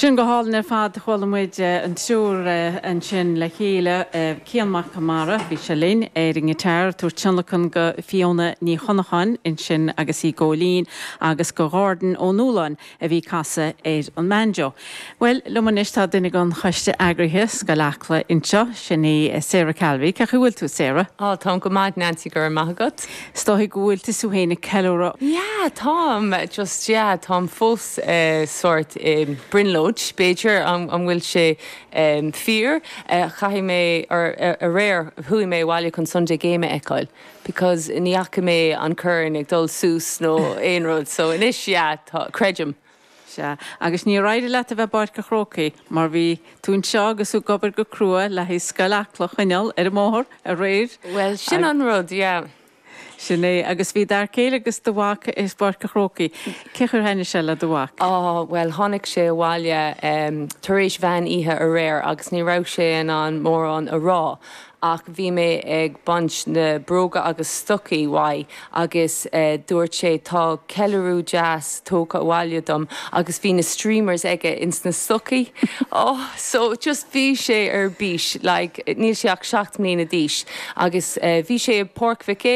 Sin go hálainn ar fad. Chuala muid an triúr ansin le chéile, Cian Mac Conmara, bhí sé linn ar an ngiotár, ag tabhairt tionlacan go Fiona Ní Chonacháin ansin agus í ag góilín, agus go Ghordon Ó Nualláin a bhí ag casadh ar an mbanjo. Bhuel, liom anois tá duine den choiste eagraithe, Scoil Acla anseo, sin í Sarah Calvey. Cén chaoi a bhfuil tú, Sarah? Á, táim go maith, Nancy, go raibh maith agat. Is dóigh go bhfuil tusa féin ag ceiliúradh. Yeah, táim, just, yeah, táim fós sórt i mbrionglóid, b'fhéidir, an bhfuil sé fíor? Chaith mé, or aréir, chuaigh mé abhaile chun Sunday Game a fheiceáil because ní fhaca mé an corn ag dul suas nó aon rud, so anois, yeah, tá, creidim. Sea, agus níor éirigh leat a bheith i bPáirc an Chrócaigh mar bhí tú anseo agus tú ag obair go crua le haghaidh Scoil Acla a choinneáil ar an mbóthar aréir. Bhuel, sin an rud, yeah. Sin é, agus bhí d'fhear céile agus do mhac i bPáirc an Chrócaigh. Cén chaoi ar thaitnigh sé le do mhac? Á, bhuel, tháinig sé abhaile tar éis mheán oíche aréir agus ní raibh sé in ann mórán a rá ach bhí mé ag baint na bróga agus stocaí uaidh agus dúirt sé tá ceiliúradh deas tógtha abhaile dom agus bhí na streamers aige ins na stocaí. Oh, so just bhí sé ar bís, like, níl sé ach 7 mbliana d'aois agus bhí sé i bPáirc Mhic.